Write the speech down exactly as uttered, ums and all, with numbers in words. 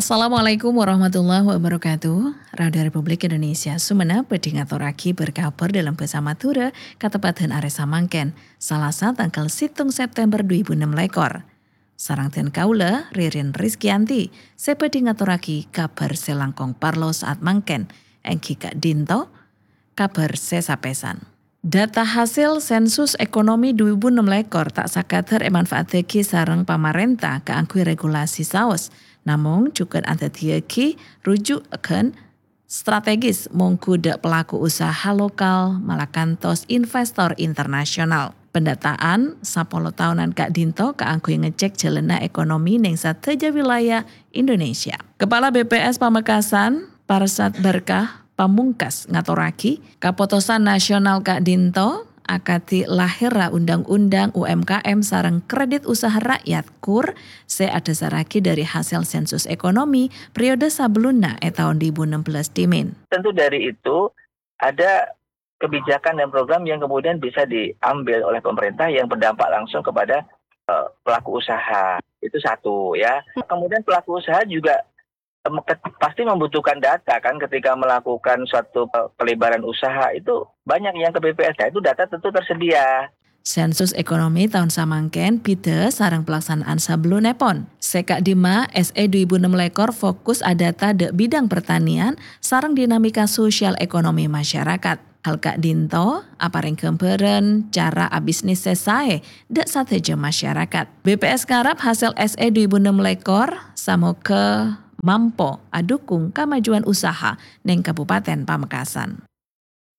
Assalamualaikum warahmatullahi wabarakatuh. Radio Republik Indonesia Sumenep bhâdhi ngatorraghi bâr-kabhâr dâlem bhâsa Madhurâ, kateppadhân arè samangkèn, Salasa tangghâl sèttong September dhu èbu ennem lèkor. Sareng dhân kaulâ, Ririn Rizkyanti, sè bhâdhi ngatorraghi kabhâr sè langkong parlo saat mangkèn, èngghi ka'dinto kabhâr sè sapèsan. Data hasil sensus ekonomi dhu èbu ennem lèkor ta' sakadhâr èmanfaattaghi sareng pamarènta kaangghuy regulasi saos, namong jhughân adhâddhiyâghi rujughân strategis mongghu dâ' pelaku usaha lokal malakantos investor internasional. Pendataan sapolo taonan ka'dinto kaangghuy ngecek jhâlânna ekonomi neng sadhâjâ wilayah Indonesia. Kepala B P S Pamekasan, Parsad Berkah Pamungkas ngatorraghi, kapotosan nasional ka'dinto akadhi lahèrra Undang-Undang U M K M sareng Kredit Usaha Rakyat, KUR, sè adhâsarraghi dâri hasil sensus ekonomi periode sabellunna è taon dhu èbu ennem belas dhimèn. Tentu dari itu ada kebijakan dan program yang kemudian bisa diambil oleh pemerintah yang berdampak langsung kepada, eh, pelaku usaha. Itu satu, ya. Kemudian pelaku usaha juga, em, ke-, pasti membutuhkan data, kan, ketika melakukan suatu pe-, pelebaran usaha, itu banyak yang ke B P S. Nah, itu data tentu tersedia. Sensus ekonomi taon samangkèn bhidhâ sareng palaksanaan sabellunèpon. Sè ka'dimma, S E dhu èbu ennem lèkor fokus adata dâ' bidang pertanian sareng dinamika sosial ekonomi masyarakat. Hal ka'dinto aparèng ghâmbhârân cara abisnis sè saè dâ' sadhâjâ masyarakat. B P S ngarep hasil S E dhu èbu ennem lèkor samogâ mampo adhukung kamajuan usaha neng Kabupaten Pamekasan.